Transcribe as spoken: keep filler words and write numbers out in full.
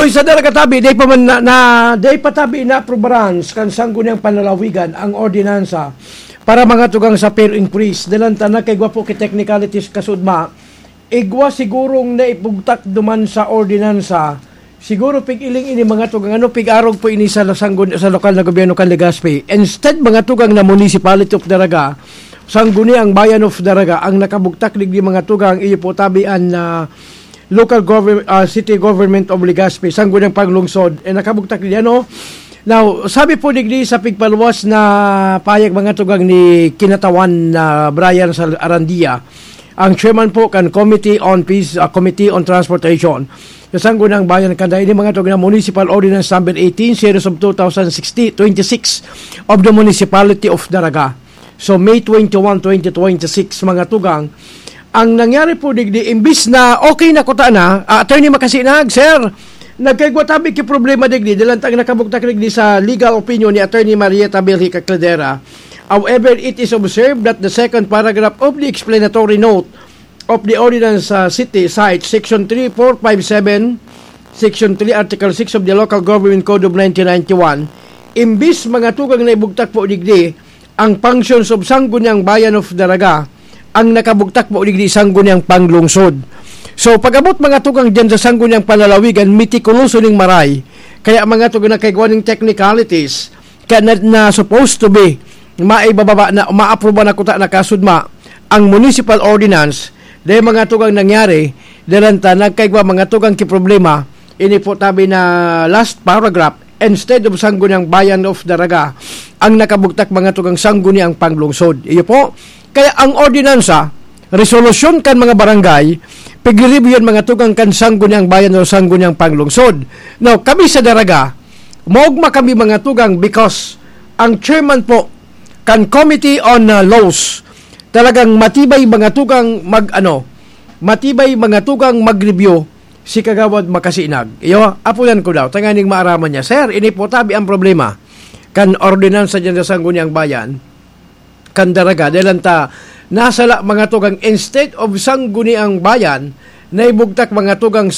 Sa Daraga tabi, day pa man na, na day pa tabi na aprubaran kan Sangguniang Panlalawigan ang ordinansa para mga tugang sa fare increase. Dalan ta nagkaigwa po ki technicalities kasudma. Igwa sigurong naibugtak duman sa ordinansa. Siguro pig-iling ini mga tugang, ano, pig-arog po ini sa sanggun-, sa lokal na gobyerno kan Legazpi. Instead, mga tugang, na Municipality of Daraga, Sangguniang Bayan of Daraga ang nakabugtak digdi, mga tugang, iyo po tabi an, ah, local govern-, ah, city government of Legazpi, Sangguniang Panglungsod, eh, nakabugtak digdi, ano? Now, sabi po digdi sa pigpaluwas na payag, mga tugang, ni Kinatawan na Brian Sal-, Arandia, ang chairman po kan Committee on Peace, ah, Committee on Transportation sa Sangguniang Bayan, kanda ini, mga tugang, na Municipal Ordinance Number eighteen, Series of two thousand sixty, twenty-six of the Municipality of Daraga. So, May twenty-one, twenty twenty-six, mga tugang, ang nangyari po digdi, imbis na okay na kuta na, ah, Attorney Makasinag, sir, nagkaigwa tabi ki problema digdi, dalan ta nakabugtak digdi sa legal opinion ni Attorney Marieta Belhica Cladera. However, it is observed that the second paragraph of the explanatory note of the ordinance, uh, city site, Section three four five seven, Section three, Article six of the Local Government Code of nineteen ninety-one, imbis, mga tugang, na ibugtak po digdi ang functions of Sangguniang Bayan of Daraga, ang nakabugtak po digdi Sangguniang Panglungsod. So, pag-abot, mga tugang, dyan sa Sangguniang Panlalawigan, mitikuloso ning maray. Kaya, mga tugang, nagkaigwa ning technicalities, kaya na, na supposed to be maibababa na, maapruba na kuta na kasudma ang municipal ordinance. Dahil, mga tugang, nangyari, dalan ta nagkaigwa, mga tugang, ki problema, ini po tabi na last paragraph, instead of Sangguniang Bayan of Daraga, ang nakabugtak, mga tugang, Sangguniang Panglungsod. Iyo po. Kaya ang ordinansa, resolusyon kan mga barangay, pigre-review yan, mga tugang, kan Sangguniang Bayan o Sangguniang Panglungsod. Now, kami sa Daraga, maogma kami, mga tugang, because ang chairman po kan Committee on, uh, Laws, talagang matibay, mga tugang, mag-ano, matibay, mga tugang, mag-review si Kagawad Makasinag. Iyo, apuyan ko daw, tanganing maaraman niya, "Sir, ini po tabi ang problema kan ordinansa dyan sa Sangguniang Bayan, kan Daraga, dalan ta nasala, mga tugang, instead of Sangguniang Bayan, naibugtak, mga tugang,